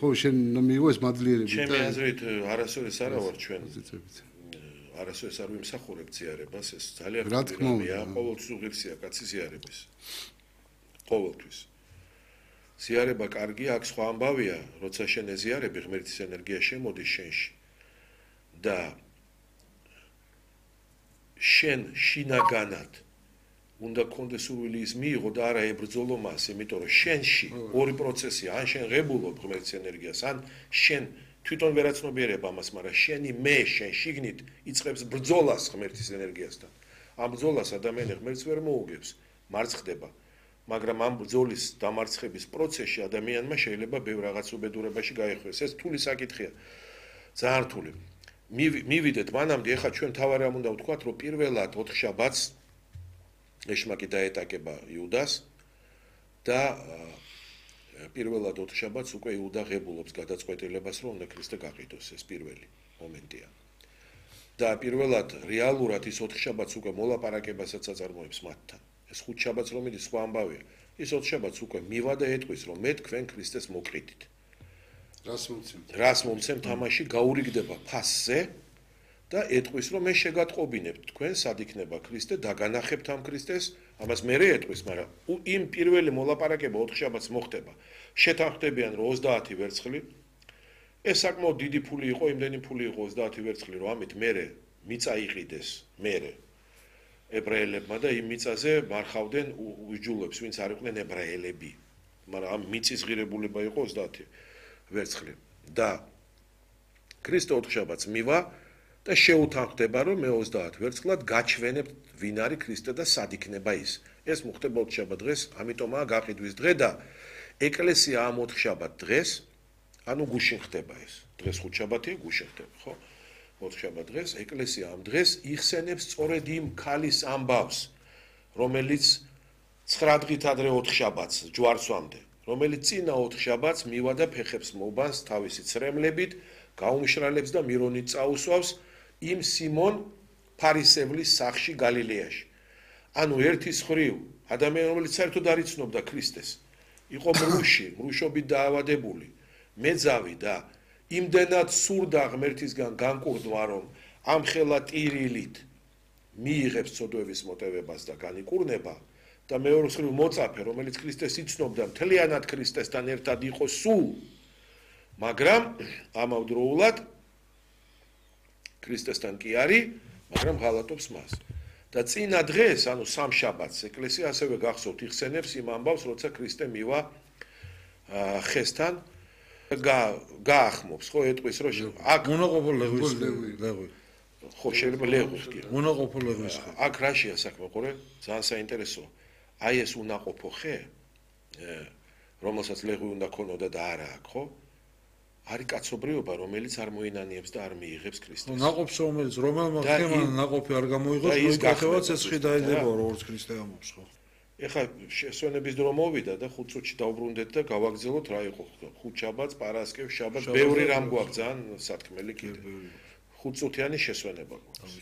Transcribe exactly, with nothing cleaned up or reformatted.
ხო, შენ მიიღო ეს მადლიერები და ჩემი აზრით არასოდეს არა ვარ ჩვენ. არასოდეს არ ვიმსახურებ ზიარებას, ეს ძალიან ხშირია, ყოველთვის უღირსია კაცი ზიარების. ყოველთვის. ზიარება კარგია, აქ სხვა ამბავია, როცა შენ ეზიარები, ღმერთის ენერგია შემოდის შენში და შენ შინაგანად უნდა კონდეს სურვილი ის მიიღო და არა ებრძოლო მას, იმიტომ რომ შენში ორი პროცესია, ან შენ ღებულობ ღმერთის ენერგიას, ან შენ თვითონ ვერაცნობიერებ ამას, მაგრამ შენი მე შენ შიგნით იწყებს ბრძოლას ღმერთის ენერგიასთან. ამ ბრძოლას ადამიანი ღმერთს ვერ მოუგებს, მარცხდება. მაგრამ ამ ბრძოლის დამარცხების პროცესში ადამიანმა შეიძლება ბევრ რაღაც უბედურებაში გაეხვიოს. ეს რთული საკითხია. ძალიან რთული. მივიდეთ მანამდე, ეხლა ჩვენ თავი რამ უნდა ვთქვათ, რომ პირველად ოთხშაბათს ეშმაკი დაეტაკება იუდას და პირველად ოთხშაბათს უკვე იუდა ღებულობს გადაწყვეტილებას, რომ უნდა ქრისტე გაყიდოს, ეს პირველი მომენტია. და პირველად რეალურად ის ოთხშაბათს უკვე მოლაპარაკებასაც აწარმოებს მათთან. ეს ხუთშაბათს რომ მიდის სხვა ამბავია. ის ოთხშაბათს უკვე მივა და ეტყვის, რომ მე თქვენ ქრისტეს მოკრიდით. რას მომცემთ? რას მომცემთ თამაში გაურიგდება ფასზე და ეტყვის, რომ მე შეგატყობინებთ თქვენ, სად იქნება ქრისტე, დაგანახებთ ამ ქრისტეს, ამას მე ეტყვის, მაგრამ იმ პირველი მოლაპარაკება ოთხშაბათს მოხდება. შეთანხმდებიან, რომ ოცდაათი ვერცხლი, ეს საკმაოდ დიდი ფული იყო, იმდენი ფული იყო ოცდაათი ვერცხლი, რომ ამით მე მიწა იყიდეს, მე ებრაელებმა და იმ მიწაზე მარხავდნენ უჯულებს, ვინც არ იყვნენ ებრაელები. მაგრამ ამ მიწის ღირებულება იყო ოცდაათი ვერცხლი. და ქრისტე ოთხშაბათს მივა და შეუთანხმდება, რომ მე ოცდაათ ვერცხლად გაჩვენებთ, ვინ არის ქრისტე და სად იქნება ის. ეს მოხდება ოთხშაბათ დღეს, ამიტომაა გაყიდვის დღე და ეკლესია ამ ოთხშაბათ დღეს, ანუ გუშინ ხდება ეს. დღეს ხუთშაბათია, გუშინ ხდება, ხო? ოთხშაბათ დღეს ეკლესია ამ დღეს იხსენებს სწორედ იმ ქალის ამბავს, რომელიც ცხრა დღით ადრე ოთხშაბათს ჯვარცვამდე, რომელიც წინა ოთხშაბათს მივა და ფეხებს მობანს თავისი ცრემლებით, გაუმშრალებს და მირონით წაუსვავს იმ სიმონ ფარისევლის სახლში გალილეაში. ანუ ერთის ხრივ ადამიანი, რომელიც საერთოდ არ იცნობდა ქრისტეს, იყო მრუში, მრუშობით დაავადებული, მეძავი და იმდენად სურდა ღმერთისგან განკურნვა, რომ ამ ხელა ტირილით მიიღებს ცოდვების მოტევებას და განიკურნება და მეორე მხრივ მოწაფე, რომელიც ქრისტეს იცნობდა, მთლიანად ქრისტესთან ერთად იყო სულ, მაგრამ ამავდროულად ქრისტესთან კი არის, მაგრამ ღალატობს მას. და წინა დღეს, ანუ სამშაბათს, ეკლესია ასევე გახსოვთ იხსენებს იმ ამბავს, როცა ქრისტე მივა ხესთან გაახმობს, ხო, ეტყვის, რომ აქ მონაყოფო ლეღვის ლეღვი. ხო, შეიძლება ლეღვის კი. მონაყოფო ლეღვის. აქ რაშია საქმე, ყურე? ძალიან საინტერესოა. აი ეს უნაყოფო ხე, რომელსაც ლეღვი უნდა ქონოდა და არა აქვს, ხო? არის კაცობრიობა, რომელიც არ მოინანიებს და არ მიიღებს ქრისტეს. ნაყოფს რომელიც რომელმა ხემან ნაყოფი არ გამოიღოს, მოიკეთებაც ეს ხი დაედება, როგორც ქრისტე ამობს, ხო? ეხლა შესვენების დრო მოვიდა და ხუთ წუთში დავბრუნდეთ და გავაგზავნოთ რა იყო ხუთშაბათს, პარასკევს, შაბათს, ბევრი რამ გვაქვს ძალიან სათქმელი კიდე. ხუთ წუთიანი შესვენება გვაქვს.